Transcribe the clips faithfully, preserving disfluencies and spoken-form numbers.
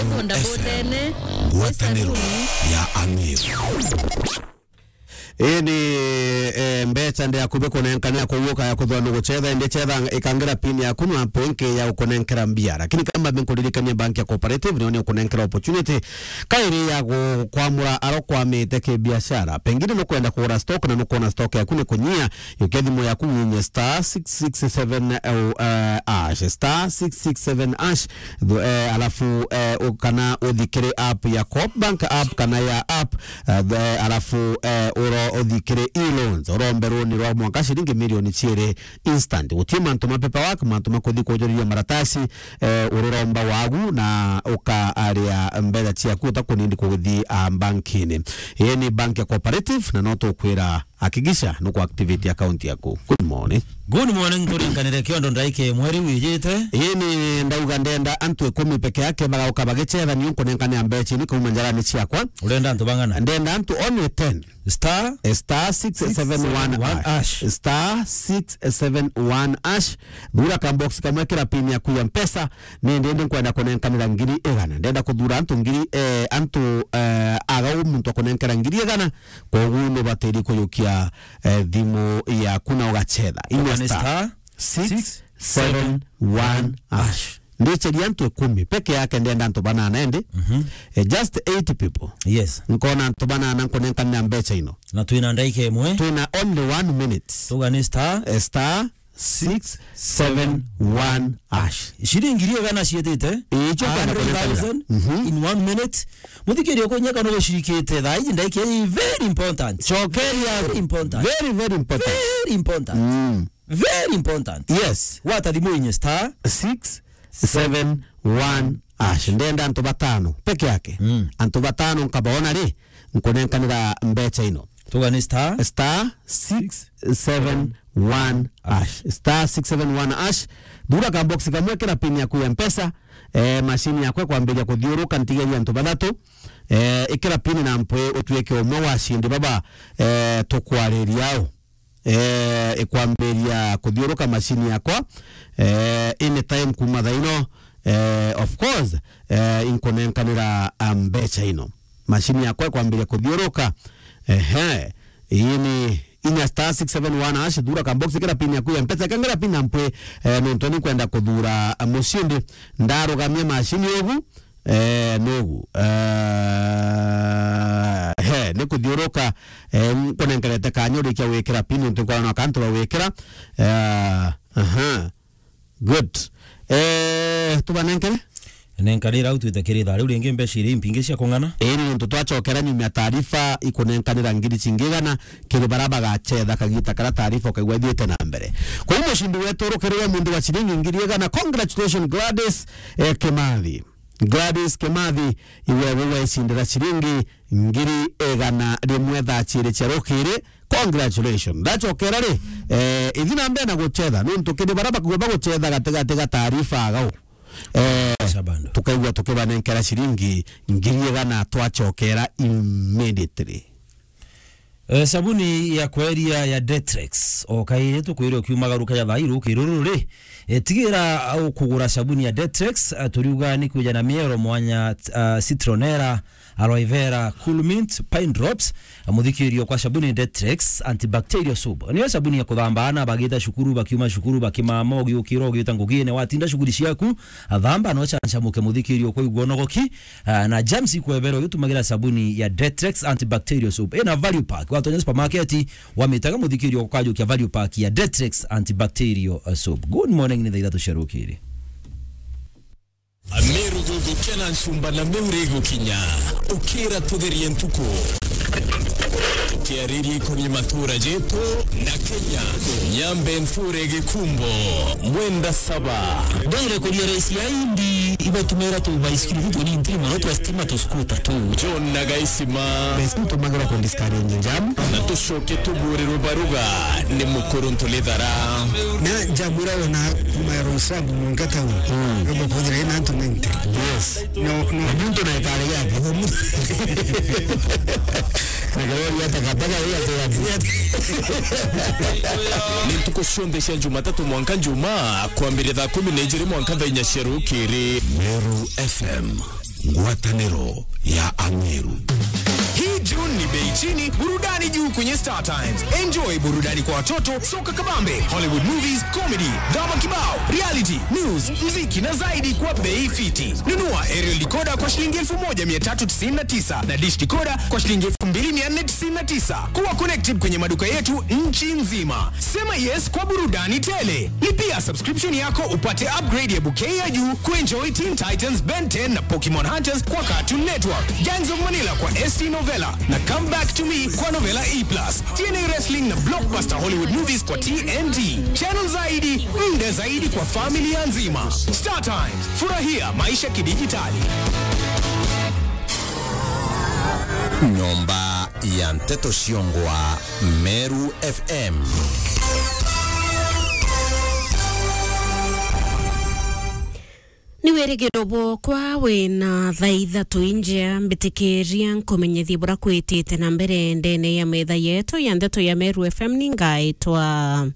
Iko ndabotene, ngwataniro ya Amiru. Ii ni, eh, mbeca ndi akubi kunenkanira kuguka ya kuthwa ni gucetha, indi cetha ikangira pin yaku na app ingi ya gukunenkera mbia. Lakini kamba mbinkuririkania bank ya Cooperative, niyo ni ukunenkera opportunity kairi ya gukwamura aro kwamite kibiashara. Pengine nukwenda kugura stock na nukwona stock yaku ni kunyia, yukia thimu yaku winye star six six seven, eh, hash, star six six seven hash, eh, alafu, eh, u-, kana uthi kiri app ya Coop Bank app kana ya app, eh, the, alafu, eh, uro uthi kiri e-loans, urombe runi rwa mwanka ciringi milioni ciiri instant. Guti mantu ma paperwork, mantu ma kuthi kujuriria maratasi, eh, uriromba wagu na ukaaria mbeca ciaku utakunindi kuthi, ah, bankini. Ii ni bank ya Cooperative na no tukwira hakikisha nuku activate account yaku. Good morning. Good morning, turinganire kiondo ndaika imwe riu ijite. Ii ni ndauga ndenda antu ikumi peke yake bagauka bagicetha, ni unkunenkania mbeca ini kauma njarani ciakwa. Urenda antu bang'ana? Ndenda antu only ten. Star, eh, star six seven one hash. Star six seven one hash. Thura ka box kamwe, kira pin yaku ya Mpesa. Ni ndende nkwenda kunenkanira ngiri igana. Ndenda kuthura antu ngiri, eh, antu, eh, agau muntu akunenkera ngiri igana. Koguo nubatiri kuyukia, eh, thimu yaku na ugacetha. Inya star six seven one hash. Ndiceria antu ikumi peke yake, ndenda antu banana indi. Mhm. Eh, just eight people. Yes. Nkona antu banana nkunenkanira mbeca ino. Na twina ndaika imwe. Twina only one minute. Tuga ni star. Eh, star six seven one hash. Ciringi iria igana cietite. Ii, icio kwenda kunenkanira. Hundred thousand in one minute. Muthikiria kunyeka no gucirikite thaa iji ndaika ii very important. Cokeria. Very important. Very, very important. Very important. Mm. Very important. Yes. Wata thimu inye star six seven one hash. Ndenda antu batano peke yake. Mm. Antu batano nkabaona ri, nkunenkanira mbeca ino. Tuga ni star. Star six seven one hash. Star six seven one hash. Thura ka box kamwe, kira pin yaku ya Mpesa. Eh, mashini yakwa ikwambiria kuthiuruka, ntigeria antu bathatu. Eh, ikira pin na mpwi utuike umwe wa ashindi baba, eh, tukwariria au. Eh, ikwambiria kuthiuruka mashini yakwa, eh, anytime kuma thaa ino, eh, of course, eh, inkunenkanira, ah, mbeca ino. Mashini yakwa ikwambiria kuthiuruka. Ehe, ii ni inya star six seven one hash, thura ka box, kira pin yaku ya Mpesa, kangira pin na mpwi, eh, nontu ni kwenda kuthura, ah, mushindi. Ndarugamia mashini ugu, Eh, nugu. Eh, he, ni kuthiuruka, eh, nkunenkerete kanya urikia gwikira pin, nontu nkwona no kantu ba gwikira. Eh, aha. Good. Eh, tubanenkere? Nenkanira au twite kiri thaa riu ringi mbeca iri impingi cia kung'ana. Iri nontu twacokera nyuma ya taarifa ikunenkanira ngiri cingi igana kiri bara bagacetha kagita kara taarifa ukaigua ithiite na mbere. Kwa hiyo mushindi wetu urukirire munthi wa ciringi ngiri igana. Congratulations Gladys, eh, Kimathi. Gladys Kimathi, iwe gwe waicindira ciringi ngiri igana rimwe thaa ciiri cia rukiri. Congratulations. Ndacokera ri, eh, ithi na mbere na gucetha, nontu kiri bara bakuga bagucetha gatigati ga taarifa agau. Eh, tukaigua tukibanenkera ciringi ngiri igana twacokera immediately. Eh, sabuni ya kweria ya Detrex, o kairi tukwire ukiumagaruka ya thairu kiruru ri. Eh, tigira ukugura sabuni ya Detrex, eh, turiuga ni kwija na miero mwanya, ah, citronella, aloe vera, cool mint, pine drops, eh, muthikirio kwa sabuni Detrex antibacterial soap. Niyo sabuni ya kuthamba ana bagita cukuru, bakiuma cukuru, bakimama, ugiukira, ugiuta ngugine, watinda shughuli ciaku, athamba no chanchamuke muthikirio kwa igwonogoki. Ah, na germs ikwebera ugitumagira sabuni ya Detrex antibacterial soap. Ina value pack. Watonya supermarket, wamitaga muthikirio ukajukia value pack ya Detrex antibacterial, uh, soap. Good morning, ni thaa ithatu cia rukiri. Amiru gugukia na ncumba na miuri igukinya. Ukira tutherie ntuku. Tukiariria ikonie matura jetu na Kenya. Nyambe nture Gikumbo, Mwenda Saba. Ndere kuria raisi ya indi, ibatumira tu baisikiri tu tuni ntiri mono twa stima tu skuta tu. John na Gaisima. Baisikiri tumagirwa ku discourage jam. Na tucoke tuburirwe baruga ni mukuru Ntulithara. Na jam ira wona kuma ya Roysambu mwanka town. Mm. Yobo kuthira ina antu ninety. Yes. No, no. Muntu na ikari yake. Na gari ya takataka ya te yake. Ni ntuku cionthe cia Jumatatu mwanka Njumaa, kwambiria thaa kumi na ijiri mwanka thaa inya cia rukiri. Meru F M. Ngwatanĩro ya Ameru. Hii June ni bei chini, burudani juu kwenye Star Times. Enjoy burudani kwa watoto, soka kabambe, Hollywood movies, comedy, drama kibao, reality, news, muziki na zaidi kwa bei fiti. Nunua aerial decoder kwa shilingi elfu moja mia tatu tisini na tisa na dish decoder kwa shilingi elfu mbili mia nne tisini na tisa. Kuwa connected kwenye maduka yetu nchi nzima. Sema yes kwa burudani tele. Lipia subscription yako upate upgrade ya bouquet ya juu kuenjoy Teen Titans, Ben ten na Pokemon Hunters kwa Cartoon Network, Gangs of Manila kwa S T Novella na Come Back to Me kwa Novella E plus, T N A Wrestling na blockbuster Hollywood movies kwa T N T. Channel zaidi, muda zaidi kwa familia nzima. Star Times, furahia maisha kidijitali. Nyomba ya Nteto Ciongwa, Meru F M. Ni wirigiro bwokwa wina thaa ithatu injea, mbitikiria nkumenyithie bura kwitite na mbere ndene ya metha yetu ya nteto ya Meru F M. Ni ngaitwa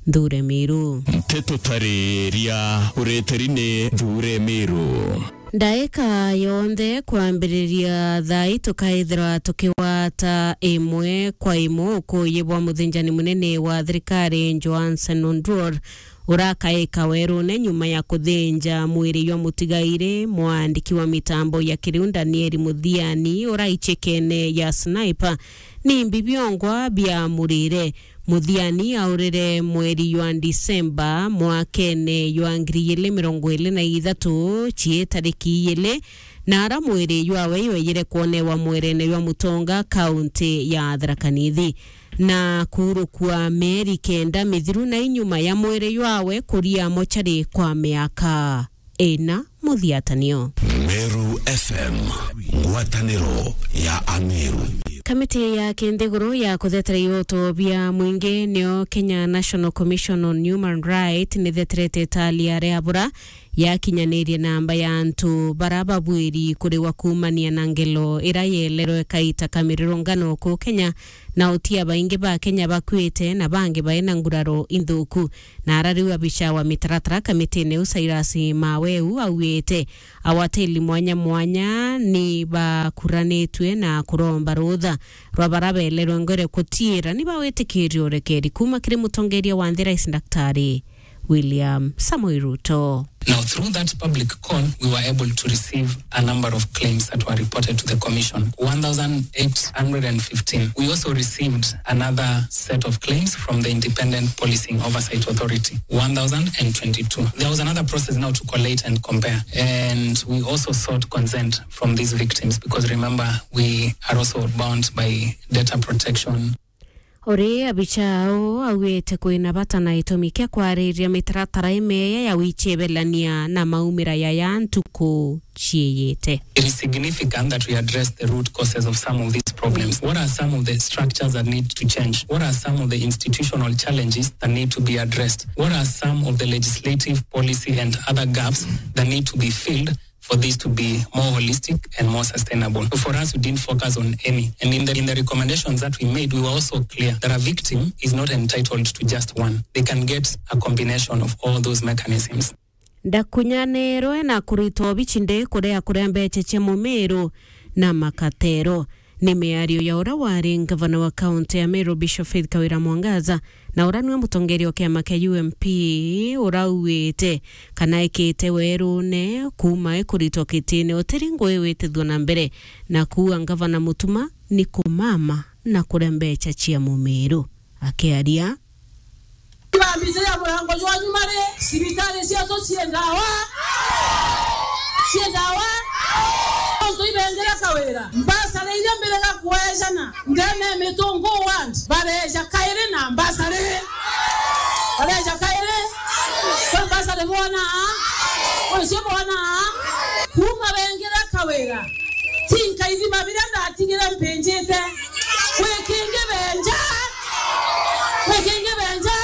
Nthure Miru. Nteto tariria ureteri ni Nthure Miru. Ndaika yonthe kwambiriria thaa ii tukaithirwa tukigwata imwe kwa imwe ukuuji bwa muthinjani munene wa thirikari Johansen Oduor, urakaika werune nyuma ya kuthinja mwiri jwa mutigairi mwandiki wa mitambo ya kiriu Danieli Muthiani ura icekene ya Sniper. Ni mbi biongwa biamurire. Muthiani aurire mweri jwa Disemba mwakene jwa ngiri igiri mirongo iri na ithatu, cii tariki igiri, na ara mwiri jwawe jwejire kwonewa mwerene jwa Mutonga, kaunti ya Tharaka Nithi, na kuurukua mieri kenda mithiru na inyuma ya mwiri jwawe kuria mochari kwa miaka ina muthiatanio. Meru F M, ngwataniro ya Ameru. Kamiti ya kinthiguru ya kuthetera ioto bia mwingi niyo Kenya National Commission on Human Rights nitheterete tali aria bura yakinyanirie namba ya antu bara babwiri kuriwa kuumania na ngelo ira yeelerwe kaita ka mirurungano ku Kenya, na utia baingi ba Kenya bakuite na bangi baina nguraro inthuku. Na ara riu abicha wa mitaratara kamitine iu Cyrus Maweu augite awateli mwanya mwanya ni bakuranitue na kuromba rutha rwa bara beelerwe ngore kutiira ni bawitikiria urekeri kuuma kiri mutongeria wa nthi, Rais Daktari William Samoei Ruto. Now, through that public call, we were able to receive a number of claims that were reported to the Commission, one thousand eight hundred and fifteen. We also received another set of claims from the Independent Policing Oversight Authority, one thousand and twenty-two. There was another process now to collate and compare, and we also sought consent from these victims because, remember, we are also bound by data protection. Uri abicha au augite kwina bata na itumi kia kwariria mitaratara imeya ya wichebelania na maumira ya ya ntuku ciiyite. It is significant that we address the root causes of some of these problems. What are some of the structures that need to change? What are some of the institutional challenges that need to be addressed? What are some of the legislative, policy and other gaps that need to be filled for this to be more holistic and more sustainable? So for us, we didn't focus on any. And in the, in the recommendations that we made, we were also clear that a victim is not entitled to just one. They can get a combination of all those mechanisms. Ndakunyanirwe na kuritwa obichi ndi kuria kuria mbecha cia mumiru na makatero. Ni miario ya uria wari ngavana wa kaunti ya Meru, Bishop Faith Kawira Mwangaza, na uria niwe mutongeria wa kiama kia U M P, uria augite kana ekite werune kuuma ikuritwa kitine utiri ngui witithua na mbere, na kuua ngavana Mutuma ni kumama na kuria mbecha cia mumiru. Akiaria, Ibambici ria murango jwa nyuma ri, cibitari cietu cii ndawa, cii ndawa, ontu ibengire Kawira. Mbasari iria mbirega kwejana ndene ya Mitungu ward, bareja kairi na mbasari. Bareja kairi. Kwi mbasari bwona? Kwi cio bwona? Kuuma bengire Kawira, ti nkaithima biria ndatigire mpinjite. Kwi kingi benja. Kwi kingi benja.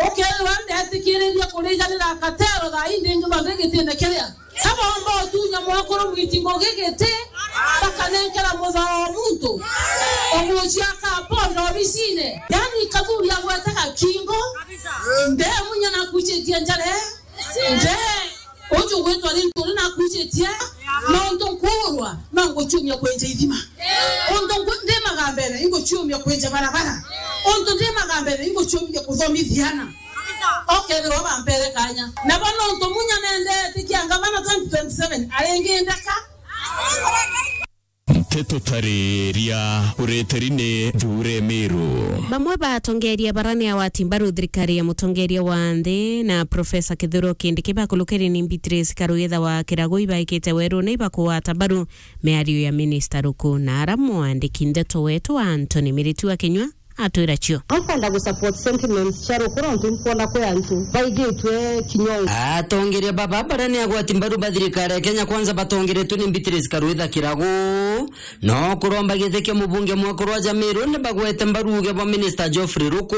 Ukeethirwa ndetikiriria kurijanira katero thaa ii ndingi thonde gitine kiria. Kabomba utunya mwakuru mwiti ngugi giti, bakanenkera muthao muntu. Ugucia kaponda obicine. Yani kathuri agwete gakingo. Ndemunya na kuchitie njare. Nde. Uju gwitwa ni nturi nakucitie, nontu nkuurwa, no nguciumia kwenja ithima. Untu nku-, ndi magambene, inguciumia kwenja barabara. Untu ndi magambene, inguciumia kuthomithia ana. Okethirwa bampere kanya. Nabo nontu munya nendete kia ngavana twenty twenty-seven, aringindeka. Nteto tariria ureteri ni Thuure Miru. Bamwe ba atongeria bara ni agwati mbaru thirikari ya mutongeria wa nthi na Profesa Kithure Kindiki bakulukiri ni Beatrice Karwitha wa Kiragu ibaikite werune ibakugwata mbaru miario ya minista Ruku, na ara mwandiki ndeto wetu Anthony Miritu wa Kinyua atwira cio. Nkwenda gu support sentiments cia Ruku nontu nkwona kwi antu baigitwe kinyongo. Atongeria baba baria ni agwati mbaru ba thirikari ya Kenya Kwanza batongeretwe ni Beatrice Karwitha Kiragu, no kuromba giti kia mubunge mwakuru wa Jamiru ni bagwete mbaru uge bwa minista Geoffrey Ruku,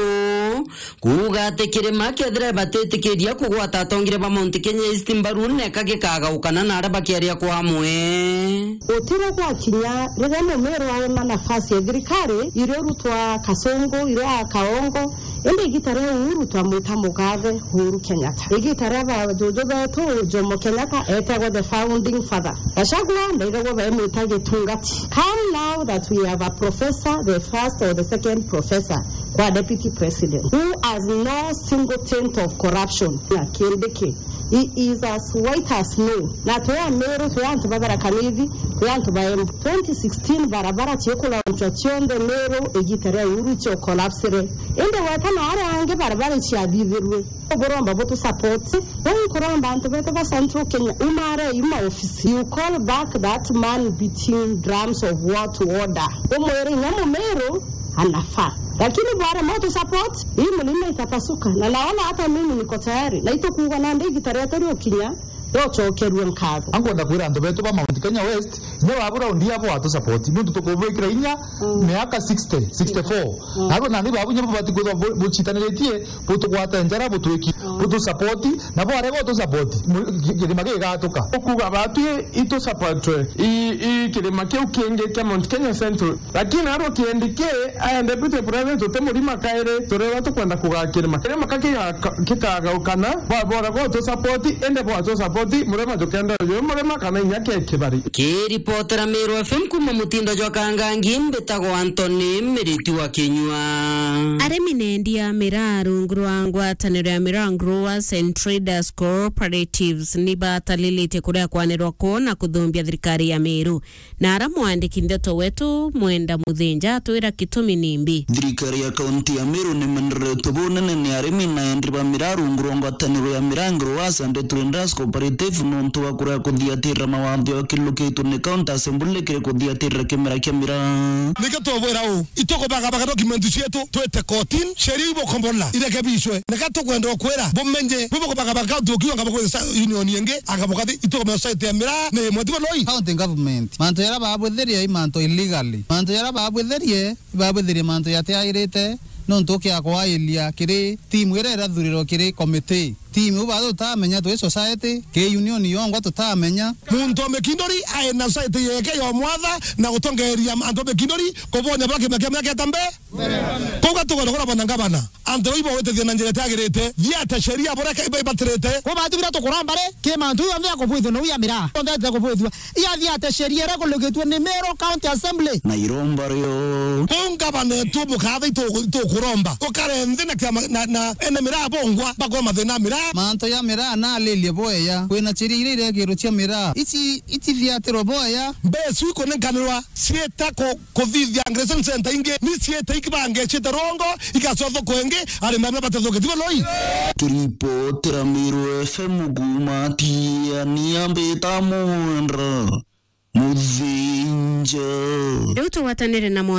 kuuga ati kirima kethira batitikiria kugwata atongeria ba Mount Kenya East mbaru neka gikagaukana na aria bakiaria kwa amwe. Gutiro gwakinya riria Mumiru aona nafasi ya thirikari, irio rutwa Kasungu, irio a Kaongo, indi igita ria Uhuru twamwita mugathe Uhuru Kenyatta. Igita ria ba juju betu Jomo Kenyatta etegwa the founding father. Gachagua ndaigagwa baimwita gitungati. Come now that we have a professor, the first or the second professor kwa deputy president, who has no single taint of corruption. Na Kindiki, he is as white as snow. Na twi Amiru, twi antu ba Tharaka Nithi, twi antu ba Embu. Twenty sixteen barabara ciikulaunchwa cionthe Miru igita ria Uhuru cio collapsire. Indi gweta na aria angi barabara iciathithirue. Buromba butu support. Buu nkuromba antu betu ba Central Kenya, umare yu maofisi. You call back that man beating drums of war to order. Umwire inya Mumiru anafaa. Lakini bwarema utu support, hii mlima itapasuka. Na naona hata mimi niko tayari. Na itukuuga nandi igita rietu riukinya, tucokerue nkatho. Ankwenda kwira antu betu ba Mount Kenya West, inya babu raundi abo atu support. Nontu tukubwikira inya miaka sixty, sixty-four. Nabo nandi babu inya babati kwithwa bu-, bucitaniritie, butugwate njara, butwiki, butu support, nabo arega utu support, mu-, ki-, kirima gigatuka. Ukuuga batwi itu support, i, i kirima kiu kingi kia Mount Kenya Central. Lakini arwa Kindiki aende deputy president, uti murima kairi, tureba tukwenda kugaa kirima. Kirima ka kiga-, kikagaukana, bwa-, bora gwa tu support, indi bwa tu support, murima tukenda uyu murima kana inya ke kibari. Kiripotera Meru F M kuma mutindo jwa Kangangi, mbitagwa Anthony Miriti wa Kinyua. Arimi na endia miraa rungu rwa ngwataniro ya Miraa Growers and Traders Cooperatives ni batalilite kuria kwanirwa kwoo na kuthumbia thirikari ya Meru. Na ara mwandiki ndeto wetu Mwenda Muthinja atwira gitumi nimbi. Thirikari ya kaunti ya Meru nimeneretwe bunene ni arimi na endi ba miraa rungu rwa ngwataniro ya Miraa Growers and Traders Cooperative nontu wa kuria kuthiatirira mawatho ya kilukitwe ni County Assembly kiri kuthiatirira kimera kia miraa. Nikio tubwira uu, itukubagabaga document cietu twite kotini, sheria ibukombola irekebishwe. Nika tukwenda ukwira bumenye, bubukubagabaga kaunti ukiuga ngabukwira sa-, union ingi, anga bukathi, itukumenya society ya miraa ni imwe, tibo loi? County government, mantu jaria babwithirie i mantu illegally. Mantu jaria babwithirie, ibabwithirie mantu jatiagirite, nontu ukia kwailia kiri timu iria irathurirwe kiri committee. Timu iu batu tutamenya twi society, ki union yongwa tutamenya. Muntu o Mikinduri aina society yeke ya mwatha na gutongeria antu a Mikinduri kubonya bwa kimya kia miaka itambe. Kuu gatukwenda kurabona ngavana. Antu bau ibawitithia na njira itiagirite, thiate sheria buria ke-, ibatirite. Kuu batu biria tukuromba ri, ki mantu jonthe ya kubwithua na uya miraa. Jonthe ya kubwithua. Iya thiate sheria iria ikulukitue ni Meru County Assembly. Na iromba rio. Kuu ngavana etu mukatha itu-, itukuromba. Ukare nthi na kiama, na, na ene miraa bongwa, bakwa mathina miraa. Mantu ya miraa nalilie boya. Kwina sheria iria irekirwe cia miraa. Ici, ici thiatirwe boya. Mbesu ikunenkanirwa ciita ku-, kuthithia aggregation center ingi, ni ciita ikibangecite rongo, igacothokwa ingi, arimi amwe batethoke. Tibo loi? Kiripotera Meru F M kuuma Tiania, mbita Mwenda Muthinja. Riu tugwatanire na mwandiki